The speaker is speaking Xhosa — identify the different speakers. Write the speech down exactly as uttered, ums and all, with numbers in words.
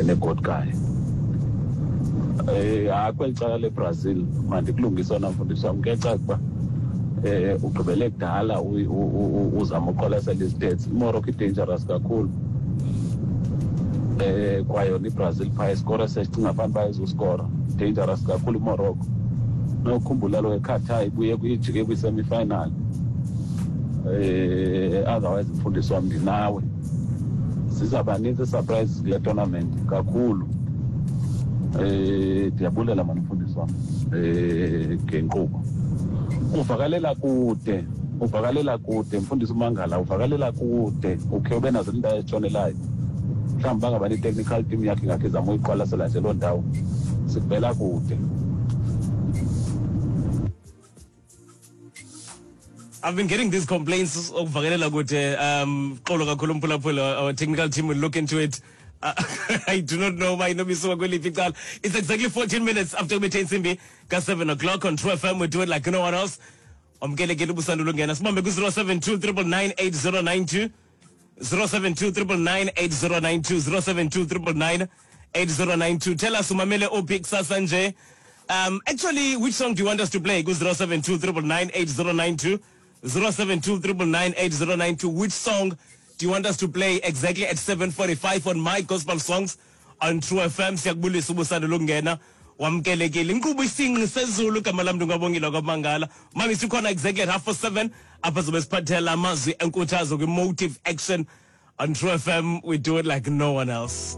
Speaker 1: Negodkayo eh hayi, kweli cala leBrazil mandikulungise wona, mfundisi wam. Kuyacaca uba eh ugqibele kudala uzama uqwalasela i-stats. IMorocco i-dangerous kakhulu, eh kwayona iBrazil phaa iskora sesicinga phambi bayizuskora. Dangerous kakhulu iMorocco. Nokukhumbula lo eQatar ibuye ijike kwi-semi-final. eh otherwise mfundisi wam, ndinawe, zizawuba nintsi ii-surprises kule tournament kakhulu. eh ndiyabulela mani, mfundisi wam, eh ngenkqubo. Uvakalela kude, uvakalela kude, mfundisi uMangala, uvakalela kude. Ukhe ube nazo iindawo ezitshonelayo. Mhlawumbi bangaba ne-technical team yakhe ingakhe izama uyiqwalasela nje loo ndawo, sikuvela kude.
Speaker 2: I've been getting these complaints okuvakalela kude. um xolo kakhulu mphulaphula, our technical team will look into it. Uh, I do not know why inoba kweliphi icala. It's exactly fourteen minutes after kubethe intsimbi ka-seven o'clock on True F M. We do it like no one else. Wamkelekile ubusandula ungena. Sibambe ku-zero seven two nine nine nine eight zero nine two, zero seven two nine nine nine eight zero nine two, zero seven two nine nine nine eight zero nine two. Tell us umamele uphi kusasa nje. Um, actually, which song do you want us to play? Ku zero seven two nine nine nine eight zero nine two, zero seven two nine nine nine eight zero nine two. Which song do you want us to play exactly at seven forty-five on My Gospel Songs on True F M? Siyakubulisa ubusandula ukungena. Wamkelekile. Inkqubo Isingqi Sezulu, igama lam ndingwabongile kwaMangala. Mami sikhona exactly at half past seven apha zobe siphathela amazwi enkuthazo kwi-Motive Action on True F M. We do it like no one else.